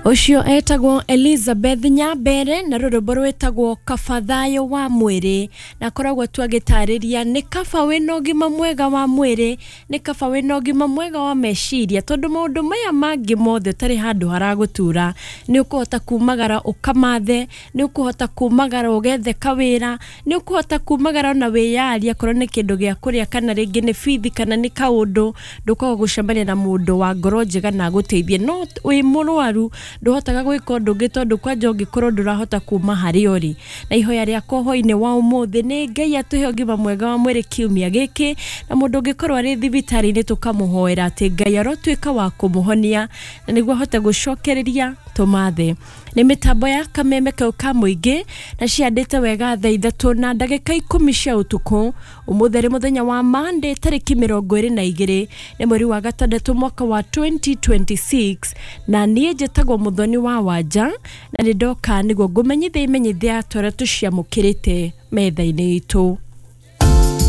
Ũcio etagwo Elizabeth Nyambere na rũrĩmbo rwĩtagwo Kaba Thayũ wa Mwĩrĩ, na akoragwo tu agĩtarĩria nĩ kaba wĩna ũgima mwega wa mwĩrĩ, nĩ kaba wĩna ũgima mwega wa meciria, tondũ maũndũ maya mangĩ mothe ũtarĩ handũ haragũtura, nĩ ũkũhota kumagara ũkamathe, nĩ ũkũhota kumagara ũgethe kawĩra, nĩ ũkũhota kumagara ona wĩyarie akorwo nĩ kĩndũ gĩa kũrĩa kana rĩngĩ nĩ bithi kana nĩ kaũndũ, ndũkaga gũcemania na mũndũ wa ngoro njega na agũteithie. No wĩ mũrwaru ndũhotaga gwĩka ũndũ ũngĩ, tondũ kwanja ũngĩkorwo ndũrahota kuma harĩa ũrĩ. Na ihoya rĩakwa hwainĩ wa ũmũthĩ nĩ Ngai atũhe ũgima mwega wa mwĩrĩ kiumia gĩkĩ, na mũndũ ũngĩkorwo arĩ thibitarĩ-inĩ tũkamũhoera atĩ Ngai arotuĩka wa kũmũhonia na nĩguo ahote gũcokereria tũmathe. Nĩ mĩtambo ya kameme kau ka mũingĩ na ciandĩte wega 3:10 cia ũtukũ. Ũmũthĩ arĩ mũthenya wa Monday tarĩki 22 nĩ mweri wa gatandatũ mwaka wa 2026, na niĩ njĩtagwo Mũthoni wa Wanja na nĩ ndoka nĩguo ngũmenyithia imenyithia tũrĩa tũciamũkĩrĩte metha-inĩ itũ.